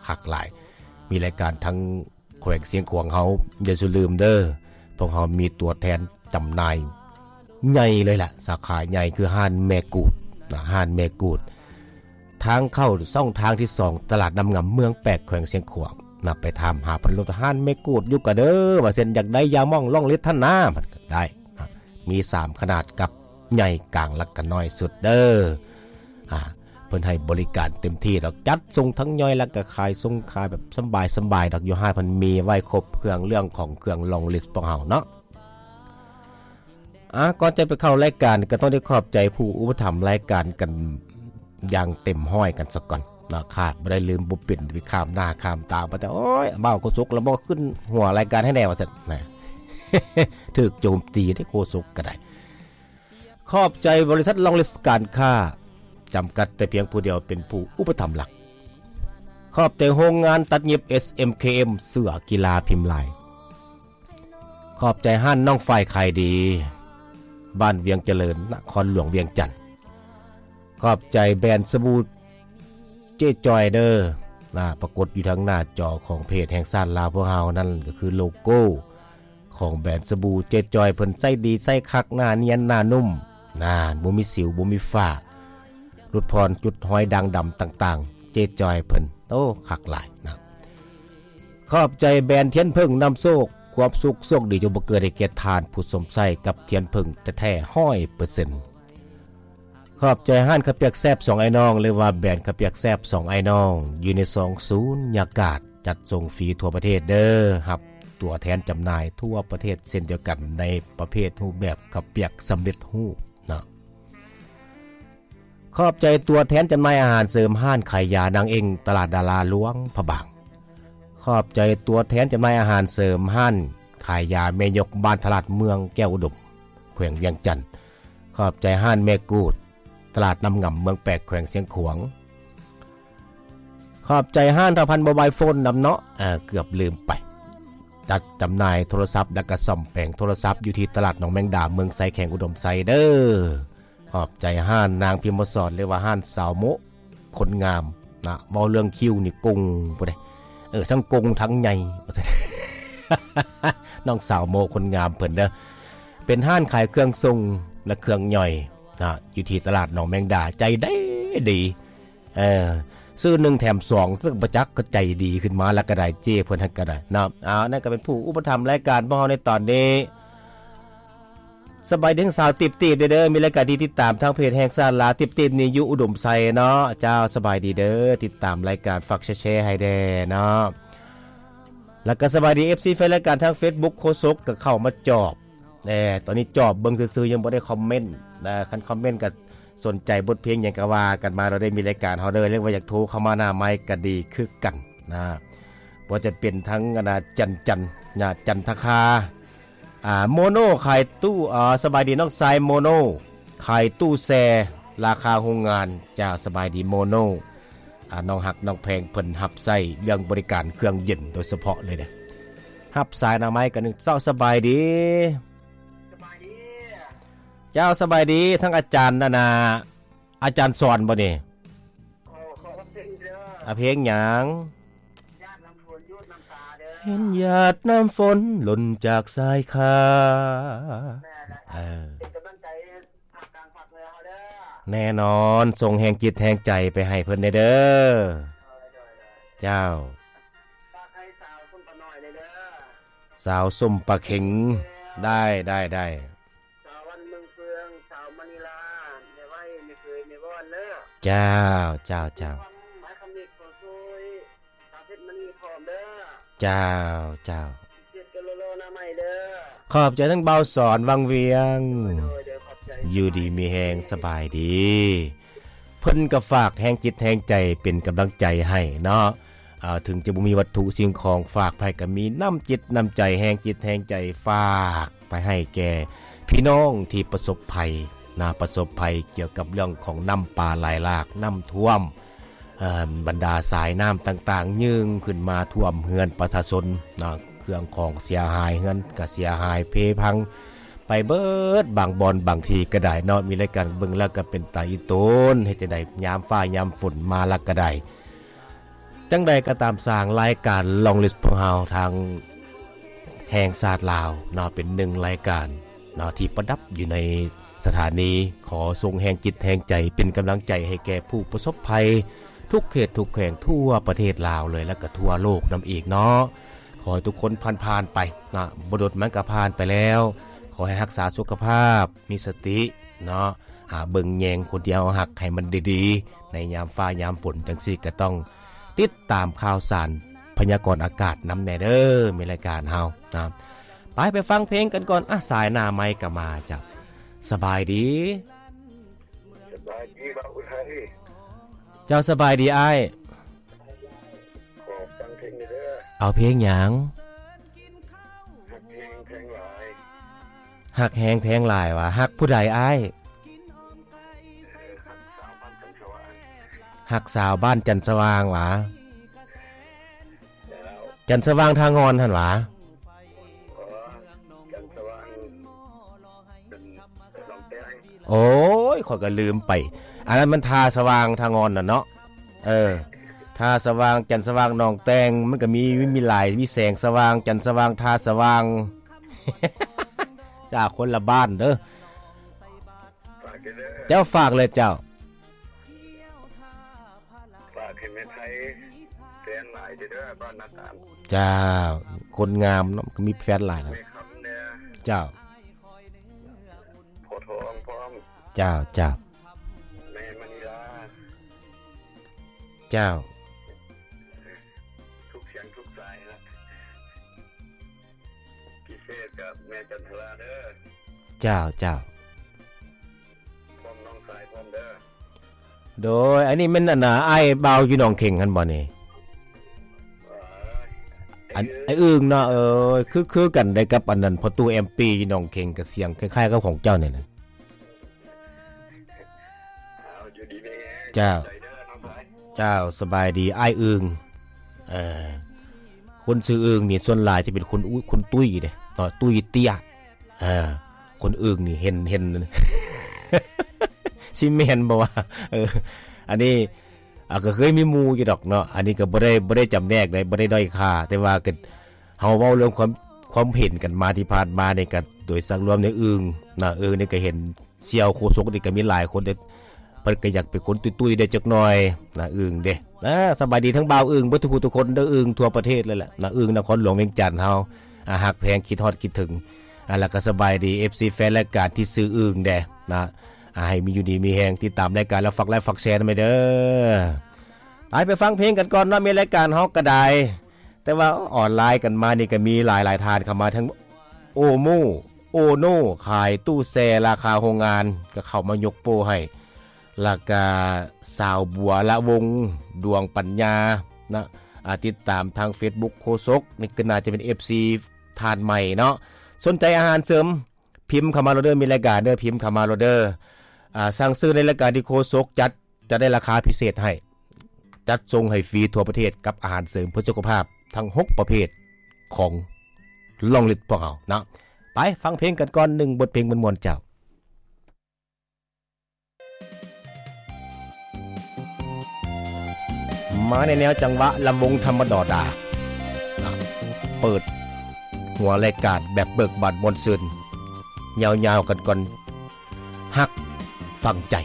ຄັກຫຼາຍ. ມີລາຍການທາງແຂວງຊຽງຂວາງເຮົາ ຢ່າສູ່ລືມເດີ້ ພວກເຮົາມີຕົວແທນຈຳໜ່າຍໃຫຍ່ເລີຍລະ ສາຂາໃຫຍ່ຄືຮ້ານແມ່ກູດນະ ຮ້ານແມ່ກູດ ທາງເຂົ້າຊ່ອງທາງທີສອງ ຕະຫຼາດນ້ຳງາມ ເມືອງແປກ ແຂວງຊຽງຂວາງນະ. ໄປຖາມຫາເພິ່ນໂລດ ຮ້ານແມ່ກູດຢູ່ກະເດີ ວ່າຊັ້ນ ຢາກໄດ້ຢາໝອງລ່ອງລິດຫັ້ນນາ ມັນກະໄດ້ນະ ມີສາມຂະໜາດ ກັບໃຫຍ່ ກາງ ແລະກະນ້ອຍສຸດເດີ້. ອ່າ ເພິ່ນໃຫ້ບໍລິການເຕັມທີ່ດອກ ຈັດສົ່ງທັງຍ່ອຍ ແລະກະຂາຍສົ່ງຂາຍແບບສະບາຍໆດອກ ຢູ່ຮ້ານເພິ່ນມີໄວ້ຄົບເຄື່ອງ ເລື່ອງຂອງເຄື່ອງລ່ອງລິດພວກເຮົາເນາະ. ອ່າ ກ່ອນຈະໄປເຂົ້າລາຍການ ກໍຕ້ອງໄດ້ຂອບໃຈຜູ້ອຸປະຖຳລາຍການກັນຢ່າງເຕັມຮ້ອຍກັນສາກ່ອນເນາະ ຂາດບໍ່ໄດ້ ລືມບໍ່ເປັນ ໄປຂ້າມໜ້າຂ້າມຕາ ວ່າແຕ່ ໂອ້ຍ ບ່າວໂຄສົກລະບໍ່ຂຶ້ນຫົວລາຍການໃຫ້ແດ່ ວ່າຊັ້ນນະ ຖືກໂຈມຕີເດ້ໂຄສົກກໍໄດ້. ຂອບໃຈບໍລິສັດລ່ອງລິດການຄ້າຈຳກັດ ແຕ່ພຽງຜູ້ດຽວເປັນຜູ້ອຸປະຖຳຫຼັກ. ຂອບໃຈໂຮງງານຕັດຫຍິບ ເອສເອັມເຄເອັມ ເສືອກິລາພິມລາຍ. ຂອບໃຈຮ້ານນ້ອງຝ້າຍຂາຍດີ ບ້ານວຽງຈະເລີນ ນະຄອນຫຼວງວຽງຈັນ. ຂອບໃຈແບຣນສະບູເຈ້ຈ້ອຍເດີ້ ນະ ປາກົດຢູ່ທາງໜ້າຈໍຂອງເພຈແຫ່ງຊາດລາວພວກເຮົາ ນັ້ນກໍຄືໂລໂກ້ຂອງແບຣນສະບູເຈ້ຈ້ອຍ ເພິ່ນໃຊ້ດີໃຊ້ຄັກ ໜ້ານຽນໜ້ານຸ້ມ ນານ ບໍ່ມີສິວບໍ່ມີຝ້າ ຫຼຸດຜ່ອນຈຸດຮອຍດ່າງດຳຕ່າງໆ ເຈ້ຈ້ອຍເພິ່ນ ໂອ້ ຄັກຫຼາຍນະ. ຂອບໃຈແບຣນທຽນເຜິ້ງນຳໂຊກ ຄວາມສຸກໂຊກດີຈົ່ງບັງເກີດໃຫ້ແກ່ທ່ານຜູ້ຊົມໃຊ້ກັບທຽນເຜິ້ງແທ້ໆ ຮ້ອຍເປີເຊັນ. ຂອບໃຈຮ້ານເຂົ້າປຽກແຊບສອງອ້າຍນ້ອງ ຫຼືວ່າແບຣນເຂົ້າປຽກແຊບສອງອ້າຍນ້ອງ ຢູ່ໃນສອງສູນຍາກາດ ຈັດສົ່ງຟຣີທົ່ວປະເທດເດີ້ ຮັບຕົວແທນຈຳໜ່າຍທົ່ວປະເທດເຊັ່ນດຽວກັນ ໃນປະເພດຮູບແບບເຂົ້າປຽກສຳເລັດຮູບເນາະ. ຂອບໃຈຕົວແທນຈຳໜ່າຍອາຫານເສີມ ຮ້ານຂາຍຢານາງເອັງ ຕະຫຼາດດາລາຫຼວງພະບາງ. ຂອບໃຈຕົວແທນຈຳໜ່າຍອາຫານເສີມ ຮ້ານຂາຍຢາແມ່ຍົກ ບ້ານທະລາດ ເມືອງແກ້ວອຸດົມ ແຂວງວຽງຈັນ. ຂອບໃຈຮ້ານແມ່ກູດ ຕະຫຼາດນ້ຳງຳ ເມືອງແປກ ແຂວງຊຽງຂວາງ. ຂອບໃຈຮ້ານທ້າວພັນໂມບາຍໂຟນນຳເນາະ ເອີ ເກືອບລືມໄປ ຈັດຈຳໜ່າຍໂທລະສັບ ແລະກະສ້ອມແປງໂທລະສັບ ຢູ່ທີ່ຕະຫຼາດໜອງແມງດາ ເມືອງໄຊ ແຂວງອຸດົມໄຊເດີ້. ຂອບໃຈຮ້ານນາງພິມມະສອນ ຫຼືວ່າຮ້ານສາວໂມະຄົນງາມນະ ເວົ້າເລື່ອງຄິ້ວນີ້ກົງພຸ້ນເດ້ ເອີ ທັງກົງທັງໃຫຍ່ ວ່າຊັ້ນ ນ້ອງສາວໂມະຄົນງາມເພິ່ນເດີ້ ເປັນຮ້ານຂາຍເຄື່ອງສົ່ງ ແລະ ເຄື່ອງຍ່ອຍນະ ຢູ່ທີ່ຕະຫຼາດໜອງແມງດາ ໃຈດີດີ ເອີ ຊື້ໜຶ່ງແຖມສອງ ເຊິ່ງບໍ່ຈັກກໍໃຈດີຂຶ້ນມາແລ້ວກໍໄດ້ ເຈ້ເພິ່ນຫັ້ນກໍໄດ້ເນາະ. ເອົາ ນັ້ນກໍເປັນຜູ້ອຸປະຖຳລາຍການຂອງເຮົາໃນຕອນນີ້. ສະບາຍດີທັງສາວຕິບໆເດີ ມີລາຍການທີ່ຕິດຕາມທາງເພຈແຫ່ງຊາດລາວ ຕິບໆນີ້ຢູ່ອຸດົມໄຊເນາະ. ເຈົ້າ ສະບາຍດີເດີ ຕິດຕາມລາຍການ ຝາກແຊໆໃຫ້ແດ່ເນາະ. ແລ້ວກໍສະບາຍດີ ເອັຟຊີ ແຟນລາຍການທາງເຟສບຸກ ໂຄສົກກໍເຂົ້າມາຈອບ ແນ່ ຕອນນີ້ຈອບເບິ່ງຊື່ໆ ຍັງບໍ່ໄດ້ຄອມເມັນນະ ຄັນຄອມເມັນກໍສົນໃຈບົດເພງຫຍັງກໍວ່າກັນມາ ເຮົາໄດ້ມີລາຍການເຮົາເດີ ຫຼືວ່າຢາກໂທເຂົ້າມາໜ້າໄມກໍດີຄືກັນນະ. ບໍ່ວ່າຈະເປັນທັງອັນນາ ຈັນ ຈັນນະ ຈັນທະຄາ ອ່າ ໂມໂນຂາຍຕູ້ ເອີ ສະບາຍດີນ້ອງຊາຍໂມໂນ ຂາຍຕູ້ແຊ່ລາຄາໂຮງງານ. ເຈົ້າ ສະບາຍດີໂມໂນ ອ່າ ນ້ອງຮັກນ້ອງແພງເພິ່ນຮັບໃຊ້ເລື່ອງບໍລິການເຄື່ອງເຢັນໂດຍສະເພາະເລີຍເດ້. ຮັບສາຍໜ້າໄມກັນໜຶ່ງ. ເຈົ້າ ສະບາຍດີ. ສະບາຍດີ. ເຈົ້າ ສະບາຍດີ ທັງອາຈານອັນນາ ອາຈານສອນບໍ່ນີ້? ຂໍ ຂໍເພງເດີ. ອາ ເພງຫຍັງ? ຢາດນ້ຳຝົນ ຢູດນ້ຳຕາເດີ. ເຫັນຢາດນ້ຳຝົນຫຼົ່ນຈາກສາຍຄາ. ແມ່ນແຫຼະ. ເອີ ເປັນກຳລັງໃຈພາກກາງພາກເໜືອເຮົາເດີ. ແນ່ນອນ ສົ່ງແຮງຈິດແຮງໃຈໄປໃຫ້ເພິ່ນແດ່ເດີ. ໂດຍ ໂດຍ ໂດຍ. ເຈົ້າ ຝາກໃຫ້ສາວສົ້ມປານ້ອຍແດ່ເດີ. ສາວສົ້ມປາເຂັງ. ເອີ ໄດ້ ໄດ້ ໄດ້. ສາວວັນເມືອງເຟືອງ ສາວມະນີລາ ແມ່ໄວ້ ແມ່ເຄີຍ ແມ່ວອນເດີ. ເຈົ້າ ເຈົ້າ ເຈົ້າ. ຄຳ ໝາຍຄຳເດັດ ຂໍຊ່ວຍ ສາວເພັດມະນີພ້ອມເດີ. ເຈົ້າ ເຈົ້າ. ເຈັດກໍລໍໆໜ້າໃໝ່ເດີ. ຂອບໃຈທັງບ່າວສອນວັງວຽງ. ໂດຍ ໂດຍ ຂອບໃຈ. ຢູ່ດີມີແຮງ ສະບາຍດີ. ເພິ່ນກໍຝາກແຮງຈິດແຮງໃຈເປັນກຳລັງໃຈໃຫ້ເນາະ. ເອີ ເຖິງຈະບໍ່ມີວັດຖຸສິ່ງຂອງຝາກໄປ ກໍມີນ້ຳຈິດນ້ຳໃຈ ແຮງຈິດແຮງໃຈ ຝາກໄປໃຫ້ແກ່ພີ່ນ້ອງທີ່ປະສົບໄພນະ ປະສົບໄພກ່ຽວກັບເລື່ອງຂອງນ້ຳປ່າໄຫຼຫຼາກ ນ້ຳຖ້ວມ ເອີ ບັນດາສາຍນ້ຳຕ່າງໆ ຍື່ນຂຶ້ນມາຖ້ວມເຮືອນປະຊາຊົນນະ ເຄື່ອງຂອງເສຍຫາຍ ເຮືອນກໍເສຍຫາຍເພພັງໄປເບີດ ບາງບ່ອນບາງທີ່ກໍໄດ້ເນາະ. ມີລາຍການເບິ່ງແລ້ວກໍເປັນຕາອີຕົນ ເຮັດຈັ່ງໃດຍາມຟ້າຍາມຝົນມາແລ້ວກໍໄດ້ ຈັ່ງໃດກໍຕາມຊ່າງ ລາຍການ Long List ພວກເຮົາທາງແຫ່ງຊາດລາວເນາະ ເປັນໜຶ່ງລາຍການເນາະ ທີ່ປະດັບຢູ່ໃນສະຖານີ. ຂໍສົ່ງແຮງຈິດແຮງໃຈ ເປັນກຳລັງໃຈໃຫ້ແກ່ຜູ້ປະສົບໄພ ທຸກເຂດທຸກແຂວງທົ່ວປະເທດລາວເລີຍ ແລະກະທົ່ວໂລກນຳອີກເນາະ. ຂໍໃຫ້ທຸກຄົນຜ່ານໆໄປເນາະ ບໍ່ດົນມັນກະຜ່ານໄປແລ້ວ. ຂໍໃຫ້ຮັກສາສຸຂະພາບ ມີສະຕິເນາະ ຫາເບິ່ງແຍງຄົນທີ່ເຮົາຮັກໃຫ້ມັນດີໆ ໃນຍາມຟ້າຍາມຝົນຈັ່ງຊີ້ ກະຕ້ອງຕິດຕາມຂ່າວສານພະຍາກອນອາກາດນຳແດ່ເດີ ມີລາຍການເຮົານະ. ໄປ ໄປຟັງເພງກັນກ່ອນ. ອ່ະ ສາຍໜ້າໄມກະມາ. ເຈົ້າ ສະບາຍດີ. ສະບາຍດີບ່າວອຸໄທ. ເຈົ້າ ສະບາຍດີອ້າຍ. ຂໍຟັງເພງແດ່ເດີ. ເອົາເພງຫຍັງ? ຮັກແຮງແພງຫຼາຍ. ຮັກແຮງແພງຫຼາຍຫວາ? ຮັກຜູ້ໃດອ້າຍ? ເອີ ຮັກສາວບ້ານຈັນສະຫວ່າງ. ຮັກສາວບ້ານຈັນສະຫວ່າງຫວາ? ເຈົ້າ. ຈັນສະຫວ່າງທ່າງ່ອນຫັ້ນຫວາ? ເອີ ຈັນສະຫວ່າງ ເປັນນ້ອງແຕງ. ໂອ້ຍ ຂ້ອຍກໍລືມໄປ ອັນນັ້ນມັນທ່າສະຫວ່າງທ່າງ່ອນນະເນາະ. ເອີ ທ່າສະຫວ່າງ ຈັນສະຫວ່າງ ໜອງແຕງ ມັນກໍມີ ມີຫຼາຍ ມີແສງສະຫວ່າງ ຈັນສະຫວ່າງ ທ່າສະຫວ່າງ. ຈ້າ ຄົນລະບ້ານເດີ. ຝາກເດີ. ເຈົ້າ ຝາກເລີຍເຈົ້າ. ຝາກໃຫ້ແມ່ໄທແຟນຫຼາຍເດີ ບ້ານນາຕານ. ເຈົ້າ ຄົນງາມເນາະ ກໍມີແຟນຫຼາຍນະ. ແມ່ຄຳແດ່. ເຈົ້າ. ພໍ່ທອງພ້ອມ. ເຈົ້າ ເຈົ້າ. ແມ່ມະນີລາ. ເຈົ້າ. ທຸກສຽງທຸກສາຍນະ ພິເສດກັບແມ່ຈັນທະລາເດີ. ເຈົ້າ ເຈົ້າ. ພ້ອມນ້ອງຊາຍພ້ອມເດີ. ໂດຍ ອັນນີ້ແມ່ນອັນນ່າ ອ້າຍບ່າວຢູ່ໜອງເຂັງຫັ້ນບໍ່ນີ້? ເອີ ອັນ ອ້າຍອຶ່ງເນາະ. ເອີ ຄື ຄືກັນໄດ້ກັບອັນນັ້ນ ພໍ່ຕູ້ແອມປີຢູ່ໜອງເຂັງ ກະສຽງຄ້າຍໆກັບຂອງເຈົ້ານີ້ນະ. ເຈົ້າ ເຈົ້າ ສະບາຍດີອ້າຍອຶ່ງ. ເອີ ຄົນຊື່ອຶ່ງນີ້ສ່ວນຫຼາຍຈະເປັນຄົນອຸ ຄົນຕຸ້ຍເດ້ເນາະ ຕຸ້ຍເຕ້ຍ. ເອີ ຄົນອຶ່ງນີ້ເຫັນ ເຫັນ ຊິແມ່ນບໍ່ວະ? ເອີ ອັນນີ້ ອ່າ ກໍເຄີຍມີໝູ່ຢູ່ດອກເນາະ ອັນນີ້ກໍບໍ່ໄດ້ ບໍ່ໄດ້ຈຳແນກໃດ ບໍ່ໄດ້ດ້ອຍຄ່າ ແຕ່ວ່າກໍເຮົາເວົ້າເລື່ອງຄວາມ ຄວາມເຫັນກັນມາທີ່ຜ່ານມານີ້ ກໍໂດຍສັກລວມໃນອຶ່ງນະ ອຶ່ງນີ້ກໍເຫັນ ສ່ຽວໂຄສົກນີ້ກໍມີຫຼາຍຄົນເດ້ ເພິ່ນກໍຢາກເປັນຄົນຕຸ້ຍໆໄດ້ຈັກໜ່ອຍນະ ອຶ່ງເດ້. ອ່າ ສະບາຍດີທັງບ່າວອຶ່ງ ເບິດທຸກຜູ້ທຸກຄົນເດີ ອຶ່ງທົ່ວປະເທດເລີຍແຫຼະນະ ອຶ່ງນະຄອນຫຼວງວຽງຈັນເຮົາ. ອ່າ ຮັກແພງ ຄິດຮອດ ຄິດເຖິງ. ອ່າ ແລ້ວກໍສະບາຍດີ ເອັຟຊີ ແຟນລາຍການທີ່ຊື່ອຶ່ງແດ່ນະ. ອ່າ ໃຫ້ມີຢູ່ດີມີແຮງ ຕິດຕາມລາຍການ ແລ້ວຝາກໄລ ຝາກແຊນຳແດ່ເດີ. ໄປ ໄປຟັງເພງກັນກ່ອນເນາະ ມີລາຍການເຮົາກໍໄດ້ ແຕ່ວ່າອອນລາຍກັນມານີ້ກໍມີຫຼາຍໆທ່ານເຂົ້າມາ ທັງໂອໂມ ໂອໂນ ຂາຍຕູ້ແຊ່ລາຄາໂຮງງານ ກໍເຂົ້າມາຍົກໂປ້ໃຫ້ ແລ້ວກະສາວບົວລະວົງ ດວງປັນຍານະ. ອ່າ ຕິດຕາມທາງເຟສບຸກໂຄສົກ ນີ້ກໍໜ້າຈະເປັນເອັຟຊີທ່ານໃໝ່ເນາະ. ສົນໃຈອາຫານເສີມ ພິມເຂົ້າມາໂລດເດີ ມີລາຍການເດີ ພິມເຂົ້າມາໂລດເດີ. ອ່າ ສັ່ງຊື້ໃນລາຍການທີ່ໂຄສົກຈັດ ຈະໄດ້ລາຄາພິເສດໃຫ້ ຈັດສົ່ງໃຫ້ຟຣີທົ່ວປະເທດ ກັບອາຫານເສີມເພື່ອສຸຂະພາບທັງຫົກປະເພດຂອງ Long List ພວກເຮົາເນາະ. ໄປຟັງເພງກັນກ່ອນ ໜຶ່ງບົດເພງມ່ວນໆ ເຈົ້າ. ມາໃນແນວຈັງຫວະລຳວົງທຳມະດອດາ ເປີດຫົວລາຍການແບບເບີກບານມ່ວນຊື່ນ ຍາວໆກັນກ່ອນ ຮັກຝັງໃຈ.